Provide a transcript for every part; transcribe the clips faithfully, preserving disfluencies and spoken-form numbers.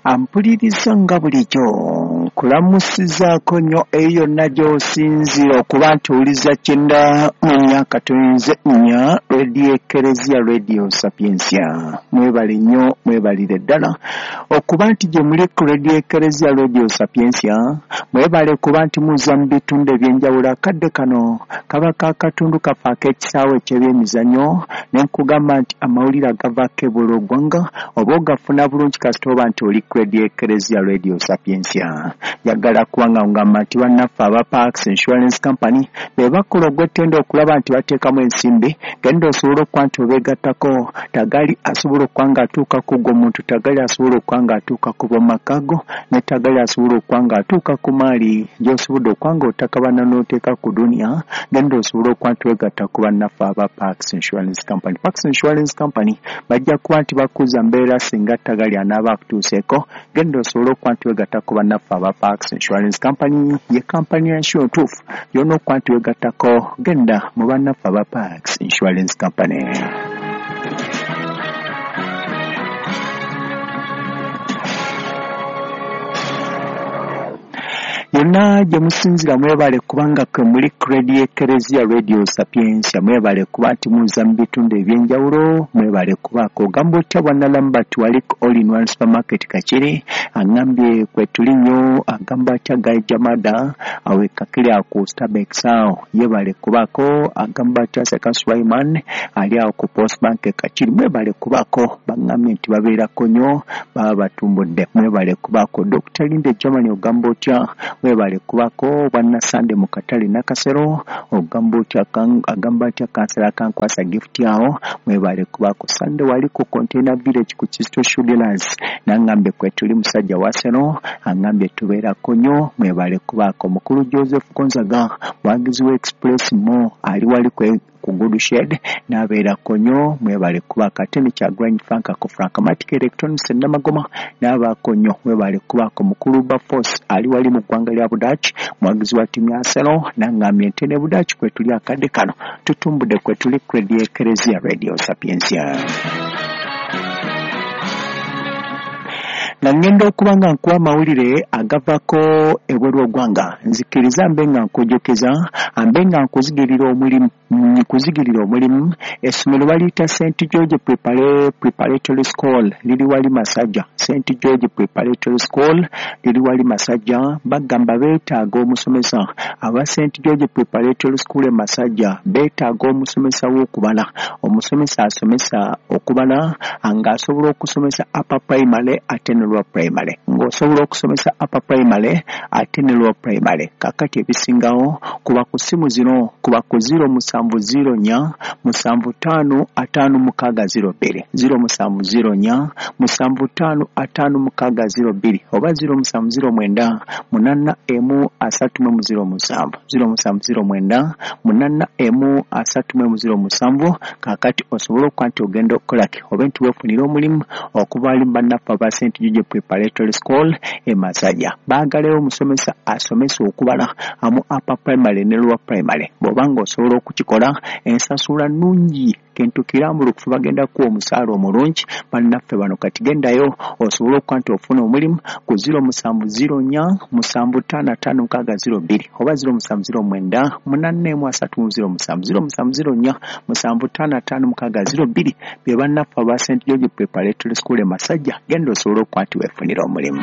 Ampuliriza nga bulijjo nkulamusizaako nnyo eyo yonna gy'osinziira okuba nti owuliza kyenda mu myaka tuyinze nnya Radio Ekereziya Radio Sapientia. Mwebale nnyo, mwebalire ddala okuba nti gye muli ku Radio Ekereziya Radio Sapientia. Mwebale kuba nti muza mu bitundu eby'enjawulo. Akadde kano kaba k'akatundu kaffe ak'ekisaawe eky'ebyemizannyo, ne nkugamba nti amawulire agavaako ebweru w'eggwanga oba ogafuna bulungi kasita oba nti oli ku Radio Ekereziya Radio Sapientia. Njagala kuba nga ngamba nti bannaffe aba Parks Insurance Company be bakola ogw'ettendo okulaba nti bateekamu ensimbi, genda osobole okuba nti obeegattako. Tagali asobola okuba ng'atuuka ku gwo muntu, tagali asobola okuba ng'atuuka ku b'omaka go, ne tagali asobola okuba ng'atuuka ku maali gy'osobodde okuba ng'otakabana n'oteeka ku duniya. Genda osobole okuba nti weegatta ku bannaffe aba Parks Insurance Company. Parks Insurance Company bajja kuba nti bakuza mbeera singa tagali anaaba akutuuseeko. Genda osobole okuba nti weegatta ku bannaffe aba Parks Insurance Company, ye kampani ya nsuwa ntuufu yonna okuba nti weegattako. Genda mu bannaffe aba Parks Insurance Company. Yonna gye musinzira mwebale kubanga kwe muli ku Radio Ekereziya Radio Sapientia. Mwebale kuba nti muza mu bitundu eby'enjawulo, mwebale kubaako. Ogamba otya bwana Lambert wali ku All in One Supermarket Kakiri, aŋŋambye kwe tuli nnyo. Agamba atya Guy Jamada awe Kakiri awo ku Starbucks awo, yebale kubaako. Agamba atya Seka Sulaiman ali awo ku Post Bank e Kakiri, mwebale kubaako. Baŋŋambye nti babeerako nnyo, baba batumbudde, mwebale kubaako. Dokita Linde Germany ogamba otya, mwebale kubaako. Bwana Sande mu katale Nakasero ogamba otya, agamba atya kansala Kankwasa gift awo, mwebale kubaako. Sande wali ku Container Village ku Kisto Shoe Dealers, nangambye kwe tuli musajja wa Seno, angambye tubeerako nnyo, mwebale kubaako. Mukulu Joseph Gonzaga mwagizi wa Express Mo ali wali kwe ku Good Shed n'abeerako nnyo, mwebale kubaako. Ate ne Kyagulanyi Frank ku Frankmatic Electronics e Namagoma n'abaako nnyo, mwebale kubaako. Mukulu Baforce ali wali mu ggwanga lya Budaaki mwagizi wa ttiimu ya Arsenal, nangambye nti ne Budaaki kwe tuli akadde kano tutumbudde kwe tuli ku Radio Ekereziya Radio Sapientia. Nga ngenda okuba nga nkuwa amawulire agavaako ebweru w'eggwanga, nzikiriza mbe nga nkujjukiza, mbe nga nkuzigirira omulimu nkuzigirira omulimu. Essomero baliyita Saint George Preparatory School, liri wali Masajja. Saint George Preparatory School liri wali Masajja. Bagamba beetaaga omusomesa. Aba Saint George Preparatory School e Masajja beetaaga omusomesa w'okubala, omusomesa asomesa okubala ng'asobola okusomesa upper primary ate ne lower primary, ng'osobola okusomesa upper primary ate ne lower primary. Kaakati ebisingawo kuba ku ssimu zino, kuba ku zero musanvu zero nnya musanvu ttaano ataano mukaaga zero bbiri, zero musanvu zero nnya musanvu ttaano ataano mukaaga zero bbiri, oba zero musanvu zero mwenda munaana emu asatu mu zero musanvu, zero musanvu zero mwenda munaana emu asatu mu zero musanvu. Kaakati osobola okuba nti ogenda okukolaki oba nti weefunira omulimu okuva ali bannaffe aba Saint George Preparatory School e Masajja. Baagalayo omusomesa asomesa okubala amu upper primary ne lower primary. Bw'oba ng'osobola okukikola, ensasula nnungi, kintu kirambulukufu, bagenda kuwa omusaala omulungi bannaffe bano. Kati gendayo osobole okuba nti ofuna omulimu ku zero musanvu zero nnya musanvu ttaano ataano mukaaga zero bbiri, oba zero musanvu zero mwenda munaana emu asatu mu zero musanvu, zero musanvu zero nnya musanvu ttaano ataano mukaaga zero bbiri. Be bannaffe aba Saint George Preparatory School e Masajja. Genda osobole okuba nti weefunira omulimu.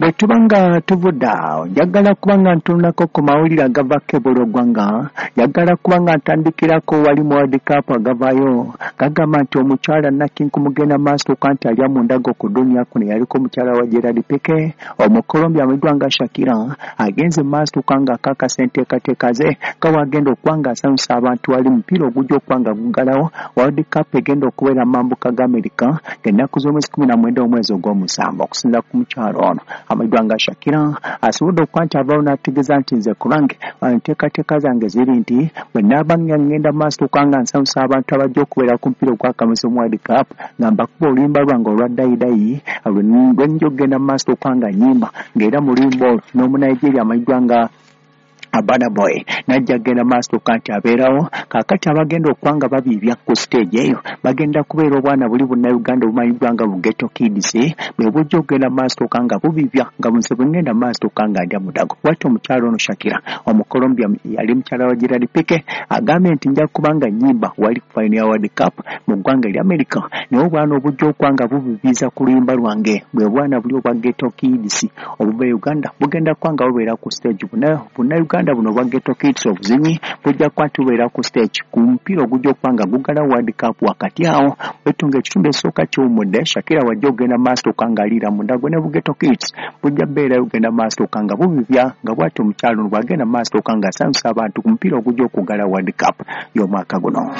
Bwe tuba nga tuvudde awo, njagala kuba nga ntunulako ku mawulire agavaako ebweru w'eggwanga. Njagala kuba nga ntandikirako wali mu World Cup agavaayo gagamba nti omukyala Nakinku mugenda maaso okuba nti alya mu ndago ku duniya kuno, yaliko omukyala wa Gerard Piqué Omukolombia amanyiddwa nga Shakira, agenze maaso okuba nga akakasa enteekateeka ze nga bw'agenda okuba nga asanyusa abantu wali mupiira ogujja okuba nga guggalawo World Cup egenda okubeera mu mambuka ga Amerika ng'ennaku z'omwezi kumi na mwenda omwezi ogw'omusanvu. Okusinziira ku mukyala ono amanyiddwa nga Shakira, asobodde okuba nti avaayo n'ategeeza nti nze ku lwange enteekateeka zange ziri nti bwe naaba nga ngenda maaso okuba nga nsanyusa abantu abajja okubeera ku mupiira ogw'akamisa mu World Cup, nga mbakuba oluyimba lwange olwa dayidayi lwe nja okugenda mu maaso okuba nga nnyimba, ng'era mu luyimba olwo n'Omunigeria amanyiddwa nga Burna Boy najja genda maaso kanti abeerawo. Kaakati abagenda okwanga babiibya ku stage eyo bagenda kubeera obwana buli Bunnayuganda obumanyiddwa nga bu Ghetto Kids, bwe bujja okugenda maaso nga bubibya nga bunze bwengenda maaso nga ndya mudago. Bw'atyo omukyala ono Shakira Omukolombia yali mukyala wa Gerard Pique agambye nti nja kuba nga nnyimba wali ku final ya World Cup mu ggwanga erya America, naye obwana obujja okwanga bubibiza ku luyimba lwange bwe bwana buli obwa Ghetto Kids obuva e Uganda bugenda kwanga bubeera ku stage. Bunnayuganda buno obwa Ghetto Kids obuzinyi bujja kuba nti bubeera ku stage ku mupiira ogujja okuba nga gugala World Cup. Wakati awo wetunga ekitundu esooka kiwummudde, Shakira wajja okugenda maaso nga aliira mundago ne bu Ghetto Kids bujja bbeerayo okugenda maaso nga bubibya nga bw'atyo omukyala ono bw'agenda maaso nga asanyusa abantu ku mupiira ogujja okugala World Cup y'omwaka guno.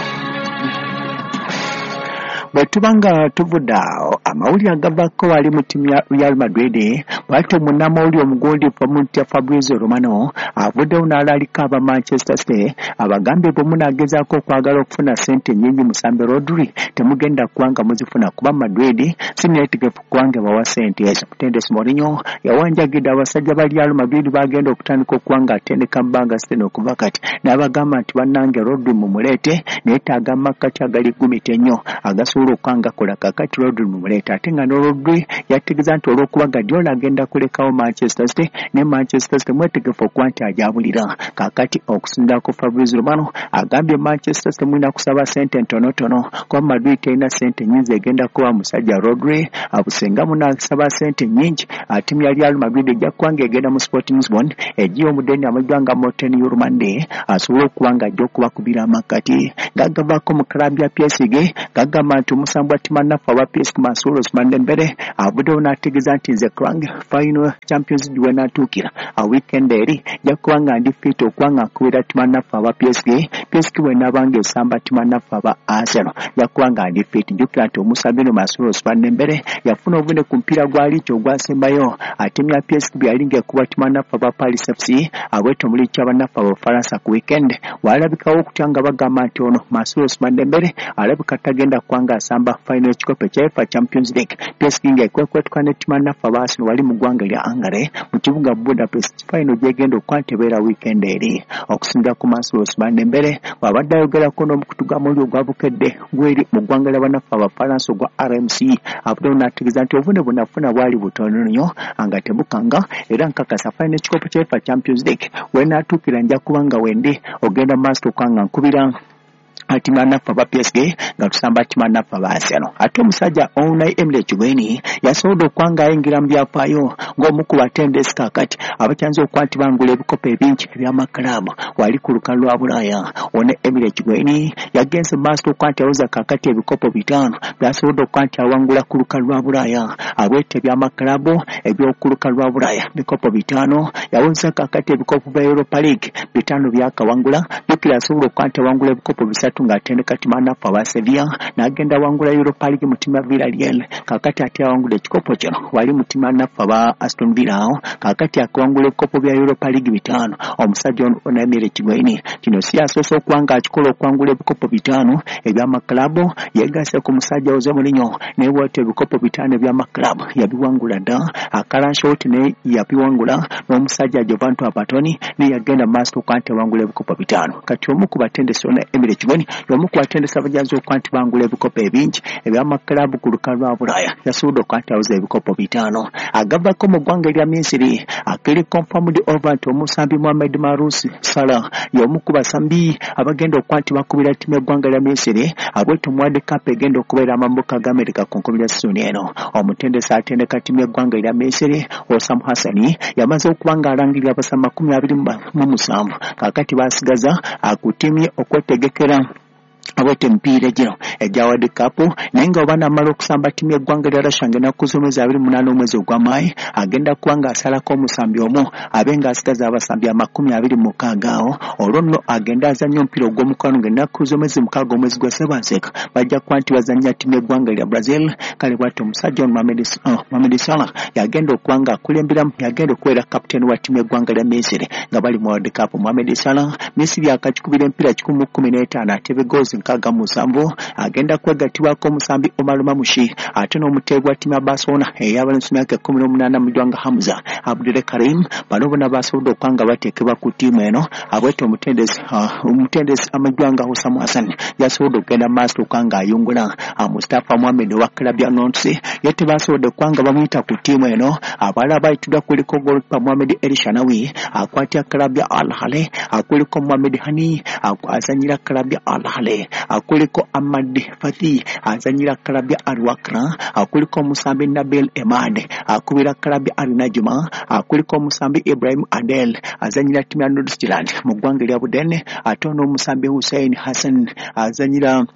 Bwe tuba nga tuvudde awo, amawulire agavaako wali mu ttiimu ya Real Madrid, bw'atyo munnamawulire omugundiivu Mutya Fabrizio Romano avuddewo n'alaalika aba Manchester City abagambye bwe munaagezaako okwagala okufuna ssente nnyingi musambe Rodri temugenda kuba nga muzifuna kuba Madrid si neetegefu kubanga bawa ssente ezo. Mutendesi Mourinho yawanjagidde abasajja ba Real Madrid bagenda okutandika okuba nga atendeka bbanga sitene okuva kati n'abagamba nti bannange Rodri mumuleete neetaaga amakkati agali gumita ennyo agasobola okukanga kola. Kaakati Rodri mumuleete, ate nga ne Rodri yategeeza nti olw'okuba Guardiola agenda kulekawo Manchester City ne Manchester City mwetegefu okuba nti ajabulira. Kaakati okusinziira ku Fabrizio Romano agambye Manchester City mulina kusaba ssente ntonotono kuba Madrid terina ssente nnyingi egenda kuba musajja Rodri abusenga munaasaba ssente nnyingi ttiimu ya Real Madrid ejja kuba ng'egenda mu Sporting Lisbon egiye omudeni amanyiddwa nga Morten Hjulmand asobole okuba nga ajja okubakubira amakkati. Gagavaako mu club ya P S G gagamba nti omusambi wa ttiimu naffe aba P S G Mansour Ousmane Dembele avuddewo n'ategeeza nti nze krange final Champions League wenaatuukira a weekend eri nja kuba nga ndi fit okuba nga nkubira ttiimu naffe aba P S G. P S G bw'enaaba ng'esamba ttiimu naffe aba Arsenal nja kuba nga ndi fit. Jjukira nti omusambi ono Mansour Ousmane Dembele yafuna obuvune ku mupiira gwa liigi ogwasembayo ttiimu ya P S G bwe yali ng'ekuba ttiimu naffe aba Paris F C abwetyo mu liigi y'abannaffe Abafalansa ku weekend walabikawo okutya nga bagamba nti ono Mansour Ousmane Dembele alabika tagenda kuba nga asamba final ekikopo ekya UEFA Champions League. P S G ng'ekwekwetuka ne ttiimu naffe aba Arsenal wali mu ggwanga erya Hungary mu kibuga Budapest final gy'egenda okuba nti ebeera weekend eri. Okusinziira ku Mansour Ousmane Dembele bw'abadde ayogerako n'omukutu gw'amawulire ogwa Bukedde gweri mu ggwanga ly'abannaffe Abafalansa ogwa R M C avuddewo n'ategeeza nti obuvune bwe nafuna bwali butono nnyo nga tebukanga era nkakasa final ekikopo kya UEFA Champions League wenaatuukira nja kuba nga wendi ogenda mu maaso okuba nga nkubira ttiimu naffe aba P S G nga tusamba ttiimu naffe aba Arsenal. Ate omusajja Unai Emery Chigweni yasobodde okuba nga ayingira mu byafaayo ng'omu ku batendesi kaakati abakyanze okuba nti bangula ebikopo ebingi eby'amakalaabu wali ku lukalu lwa Bulaaya. Ono Emery Chigweni yagenze mu maaso okuba nti awoza kaakati ebikopo bitaano by'asobodde okuba nti awangula ku lukalu lwa Bulaaya abwete eby'amakalaabu eby'oku lukalu lwa Bulaaya bikopo bitaano yawoza kaakati ebikopo bya Europa League bitaano byakawangula. Jjukira asobola okuba nti awangula ebikopo bisatu ng'atendeka ttiimu naffe aba Sevilla n'agenda awangula Europa League mu ttiimu ya Villarreal. Kaakati ate awangula ekikopo kino wali mu ttiimu naffe aba Aston Villa awo kaakati akawangula ebikopo bya Europa League bitaano. Omusajja ono Unai Emery Chigweni kino si yasoose okuba ng'akikola okuwangula ebikopo bitaano eby'amaklabu yeegasse ku musajja Jose Mourinho naye bw'atyo ebikopo bitaano eby'amaklabu yabiwangula dda. Akalanshoti naye yabiwangula n'omusajja Giovanni Trapattoni naye yagenda mu maaso okuba nti awangula ebikopo bitaano. Kati omu ku batendesi Unai Emery Chigweni y'omu ku batendesi abajanzi okuba nti bangula ebikopo ebingi eby'amaklabu ku lukalu lwa Bulaaya yasobodde okuba nti awoza ebikopo bitaano. Agavako mu ggwanga erya Misiri akiri confirmed over nti omusambi Mohamed Marous Salah y'omu ku basambi abagenda okuba nti bakubira ttiimu y'eggwanga lya Misiri abwetyo mu World Cup egenda okubeera amambuka ga Amerika ku nkomerero ya sizoni eno. Omutendesi atendeka ttiimu y'eggwanga erya Misiri Osam Hassani yamaze okuba ng'alangirira abasambi makumi abiri mu musanvu kaakati basigaza ku ttiimu ye okwetegekera abwete emipiira gino egya World Cup, naye nga oba namala okusamba ttiimu y'eggwanga lya Russia ng'ennaku z'omwezi abiri munaana omwezi ogw'Amaayi agenda kuba ng'asalako omusambi omu abe ng'asigaza abasambi amakumi abiri mu mukaaga awo olwo nno agenda azannya omupiira ogw'omukwano ng'ennaku z'omwezi mukaaga omwezi gwa Ssebanseeka bajja kuba nti bazannya ttiimu y'eggwanga lya Brazil. Kale bw'atyo omusajja ono Mohamed Salah yagenda okuba ng'akulemberamu yagenda okubeera kapiteeni wa ttiimu y'eggwanga lya Misiri nga bali mu World Cup. Mohamed Salah Misiri akakikubira emipiira kikumi mu kkumi n'etaano atebe goals nkaaga mu musanvu agenda kwegattibwako omusambi Omar Mamushi ate n'omuteebi wa ttiimu ya Barcelona ey'abalenzi myaka ekkumi n'omunaana mu ggwanga Hamza Abdul Karim. Bano bonna basobodde okuba nga bateekebwa ku ttiimu eno. Abwete omutendesi omutendesi amajwanga Hussam Hassan yasobodde okugenda maaso okuba nga ayungula Mustafa Mohamed owa club ya Nantes, ye tebasobodde okuba nga bamuyita ku ttiimu eno. Abalala bayitiddwa kuliko goalkeeper Mohamed El Shanawi akwatira club ya Al Ahly, kuliko Mohamed Hani azanyira club ya Al Ahly, kuliko Ahmad Fathi azanyira club ya Al Wakra, kuliko omusambi Nabil Emad akubira club ya Al Najma, kuliko omusambi Ibrahim Adel azanyira ttiimu ya Nordsjælland mu ggwanga erya Budene, ate n'omusambi Hussein Hassan azanyira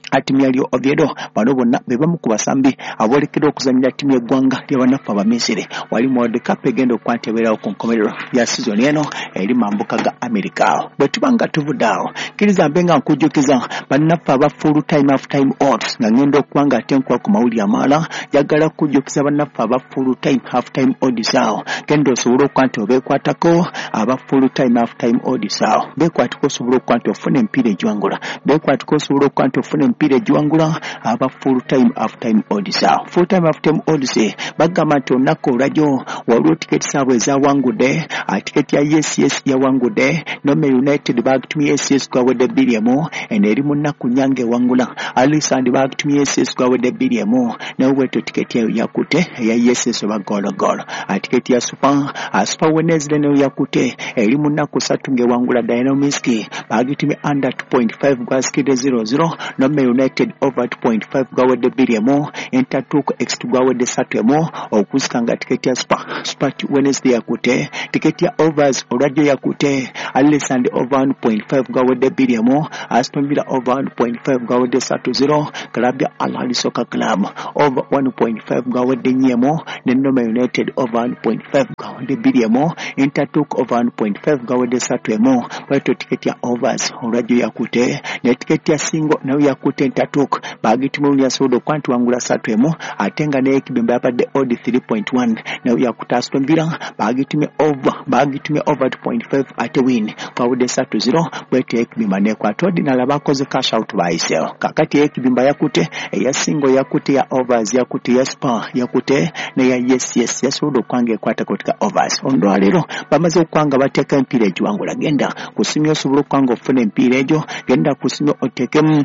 ttiimu ya Real Oviedo. Bano bonna be bamu ku basambi aboolekedde okuzannyira ttiimu y'eggwanga ly'abannaffe Abamisiri wali mu World Cup egenda okwantebeerawo ku nkomerero ya sizoni eno eri mambuka ga Amerika. Bwe tuba nga tuvudde awo, kkiriza mbe nga nkujjukiza bannaffe aba full time half time odds nga ngenda okuba nga ate nkuwa ku mawulire amalala. Njagala kujjukiza bannaffe aba full time half time odds awo, genda osobole okuba nti obeekwatako aba full time half time odds awo, beekwatako osobole okuba nti ofuna emipiira egiwangula, beekwatako osobole okuba nti ofuna emipiira egiwangula aba full time half time odds awo. Full time half time odds bagamba nti olunaku olwajjo waliwo tiketi zaabwe ezawangudde. Tiketi ya yes yes yawangudde, Nome United bagitumye yes yes gwawedde bbiri emu, eno eri mu nnaku nnya ng'ewangula. Alisand bagitumye yes yes gwawedde bbiri emu, naye bwetyo tiketi eyo yakutte eya yes yes oba goolo goolo. Tiketi ya super super Wednesday nayo yakutte, eri mu nnaku ssatu ng'ewangula. Dynamiski bagitumye under two point five gwasikidde zero zero, Nome United over two point five gwawedde bbiri emu, Intertook X gwawedde ssatu emu okusika nga tiketi ya super super Wednesday yakutte. Tiketi ya overs olwajjo yakutte, Alisand over one point five gwawedde bbiri emu, Aston Villa over one point five gwawedde ssatu zero, club ya Al Ahly Soccer Club over one point five gwawedde nnya emu, ne Nome United over one point five gwawedde bbiri emu, Intertook over one point five gwawedde ssatu emu. Bwetyo tiketi ya overs olwajjo yakutte, ne tiketi ya single nayo yakutte. Intertook bagitumye yasobodde okuba nti wangula ssatu emu, ate nga n'ekibimba yabadde odd three point one nayo yakutte. Aston Villa bagitumye over bagitumye over two point five ate win kwawedde ssatu zero, bwetyo ekibimba nekwata. Ordinary bakoze cash out bayiseewo. Kakati ekibimba yakutte, eya single yakutte, ya overs yakutte, ya super yakutte, neya yes yes yasobodde okuba nga ekwata kutika overs. Olwaleero bamaze okuba nga bateeka emipiira egiwangula. Genda ku simu osobola okuba nga ofuna emipiira egyo, genda ku simu oteekemu,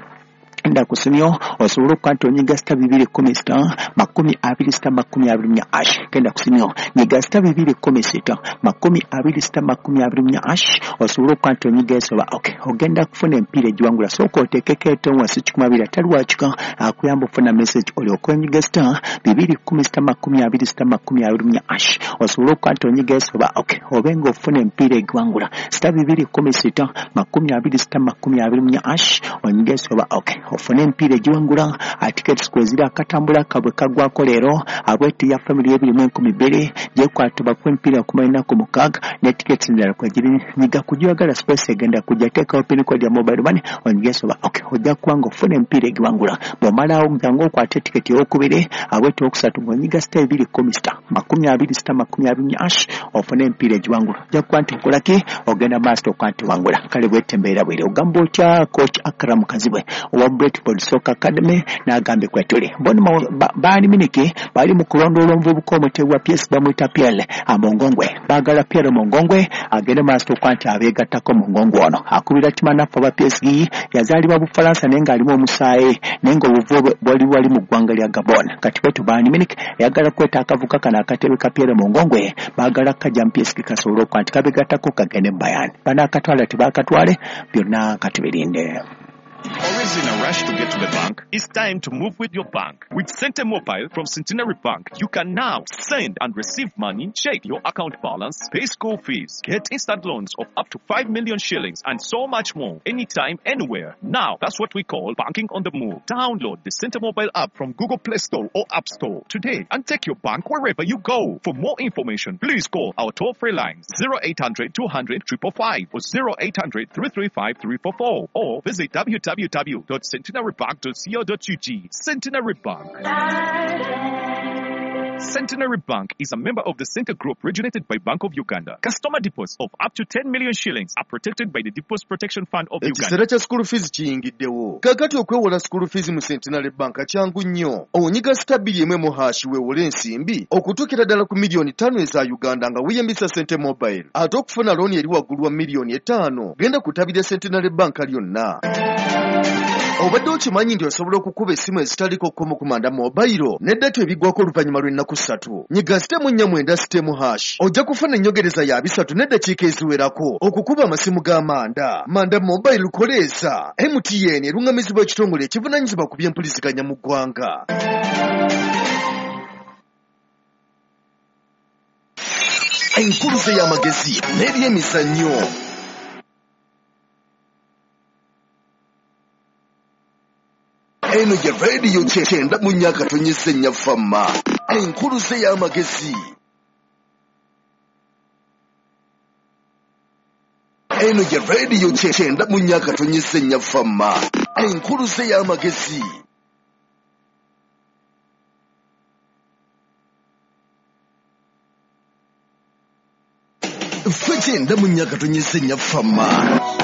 genda ku simu osobola okuba nti onyiga star bibiri kumi sita makumi abiri sita makumi abiri nnya hash. Genda ku simu, nyiga star bibiri kumi sita makumi abiri sita makumi abiri nnya hash osobola okuba nti onyiga esoba ok, ogenda kufuna emipiira egiwangula. Sooka oteekeko etono wansi kikumi abiri atali wakika akuyamba okufuna message, olyoke onyiga star bibiri kumi sita makumi abiri sita makumi abiri nnya hash osobola okuba nti onyiga esoba ok, obe nga ofuna emipiira egiwangula. Star bibiri kumi sita makumi abiri sita makumi abiri nnya hash, onyiga esoba ok, ofune emipiira egiwangula. Tickets kweziri, akatambula kabwe kagwako leero abweti ya family ebiri mu enkumi bbiri gyekwatibwa ku emipiira kumala ennaku mukaaga ne tickets endala kwegiri. Nyiga kugyagala space egenda kujja, teekawo pin code ya mobile money, onyige soba ok, ojja kuba nga ofuna emipiira egiwangula. Bw'omalawo jangu okwate tiketi eyokubiri abweti okusatu ng'onyiga star ebiri kumi sita makumi abiri sita makumi abiri nnya hash ofune emipiira egiwangula. Ojja kuba nti okolaki, ogenda maaso okuba nti wangula. Kale bwete embeera bwere. Ogamba otya coach Akram Kazibwe owa Brentford Soccer Academy n'agambye kwetuli bono baali miniki bali mu kulondoola omuvubuka omutebi wa P S bamuyita Pierre Mongongwe. Baagala Pierre Mongongwe agende maaso okuba nti abeegattako. Mongongwe ono akubira timanaffe aba P S G, yazaalibwa Bufalansa naye ng'alimu omusaayi naye ng'obuvu bwe bwali wali mu ggwanga lya Gabon. Kati bwetu Bayern Munich eyagala kweta akavuka kano akatebe ka Pierre Mongongwe, baagala kajja mu P S G kasobole okuba nti kabeegattako kagende mu Bayern. Banaakatwala tebakatwale, byonna katubirinde. Always in a rush to get to the bank? It's time to move with your bank. With Sente Mobile from Centenary Bank, you can now send and receive money, check your account balance, pay school fees, get instant loans of up to five million shillings, and so much more. Anytime, anywhere. Now, that's what we call banking on the move. Download the Sente Mobile app from Google Play Store or App Store today and take your bank wherever you go. For more information, please call our toll-free lines zero eight hundred two hundred five five five or zero eight hundred three three five three four four or visit w w w dot centenarybank dot co dot u g. Centenary Bank. Centenary Bank is a member of the Center Group regulated by Bank of Uganda. Customer deposits of up to ten million shillings are protected by the Deposit Protection Fund of Uganda. Ekiseera kya school fees kiyingiddewo. Kaakati okwewola school fees mu Centenary Bank kyangu nnyo. Onyiga star bbiri emu emu hash weewole ensimbi okutuukira ddala ku miliyoni ttaano eza Uganda nga weeyambisa Sente Mobile. Ate okufuna looni eri waggulu wa miliyoni etaano genda ku ttabi lya Centenary Bank lyonna. Obadde okimanyi nti osobola okukuba essimu ezitaliko kkomo ku Manda Mobile ne data ebiggwako oluvannyuma lw'ennaku ssatu. Nyiga star emu nnya mwenda star emu hash ojja kufuna ennyongereza ya bisatu n'eddakiika eziwerako okukuba amasimu ga Manda. Manda Mobile koleeza. M T N eruŋŋamizibwa ekitongole ekivunaanyizibwa ku by'empuliziganya mu ggwanga. Enkuluze y'amagezi n'ebyemizannyo. Eno ye radio kyenda mu myaka tonyeze nnya fama. Enkuluze y'amagezi. Eno ye radio kyenda mu myaka tonyeze nnya fama. Enkuluze y'amagezi. Ffe kyenda mu myaka tonyeze nnya fama.